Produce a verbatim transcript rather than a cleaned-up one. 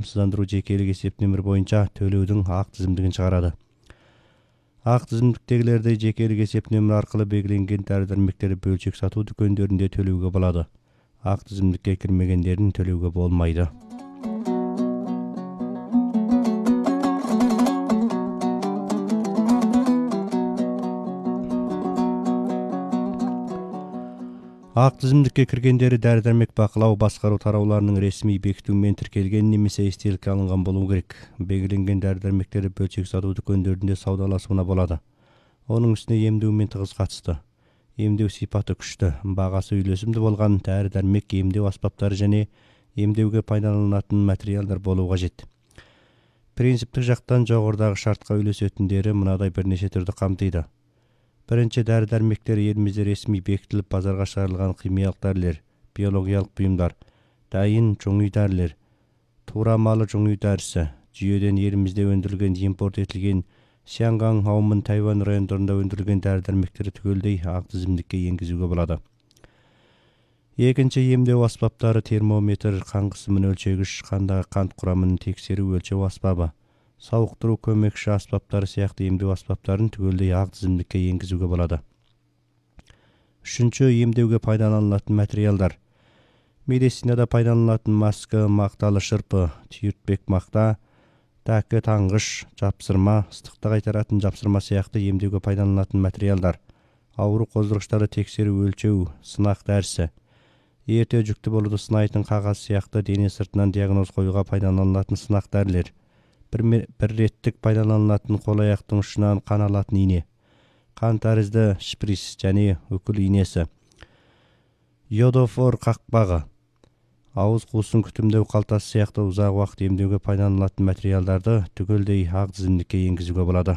камсыздандыруу жекелик эсеп номер боюнча төлөөдүн ак тизимдигин чыгарады. Ак тизимдиктегилерди жекелик эсеп номер аркылуу белгиленген дары-дармектерди бөлчөк сатуу дүкөндөрүндө төлөөгө болот. Ак тизимдикке кирмегендердин төлөөгө болмойт. Ак тизимдикке киргендери дары-дармек бакылоо баскаруу тарауларынын ресмий бекитүү менен тиркелген немесе эстеликке алынган болуу керек. Белгиленген дары-дармектерди бөлчөк сатуу дүкөндөрүндө саудаласууна болот. Онун үстүнө эмдөө менен тыгыз катышты. Эмдөө сыйпаты күчтүү, багасы үйлөсүмдүү болгон дары-дармек, эмдөө аспаптары жана эмдөөгө пайдаланылатын материалдар болуу кажет. Принциптик жактан жогорудагы шартка үйлөсөтүндөрү мындай бир нече түрдү камтыйт. Биринчи, дары-дармектер элимизде ресмий бекитилип базарга чыгарылган химиялык дарылер, биологиялык буюмдар, дайын чоң үй дарылер, туура маалы чоң үй дарысы, жүйөдөн элимизде өндүрүлгөн, импорт этилген Сианган, Аумун, Тайвань райондорунда өндүрүлгөн дары-дармектери түгөлдөй ак тизимдикке энгизүүгө болот. Экинчи, эмдөө аспаптары, термометр, кан кысымын өлчөгүч, кандагы кант курамын текшерүү өлчөө аспабы, сауктуруу көмөкчү аспаптары сыяктуу эмдөө аспаптарын түгөлдөй ак тизимдикке энгизүүгө болот. Үчүнчү, эмдөөгө пайдаланылатын материалдар. Медицинада пайдаланылатын маска, макталы шырпы, түйүртпек макта, такы, таңгыш, жапсырма, ыстыкты кайтаратын жапсырма сыяктуу эмдөөгө пайдаланылатын материалдар. Ауру коздургучтарды текшерүү өлчөө, сынак дарысы. Эртөө жүктүү болууду сынайтын кагаз сыяктуу дене сыртынан диагноз коюуга пайдаланылатын сынак дарылер. Бир реттик пайдаланылатын кол аяктын учунан кан алатын ийне, кан тарызды шприц жана өкүл ийнеси, йодофор какпагы, ауыз куусын күтүмдөө калтасы сыяктуу узак убакыт эмдөөгө пайдаланылатын материалдарды түгөлдөй ак тизимдикке энгизүүгө болот.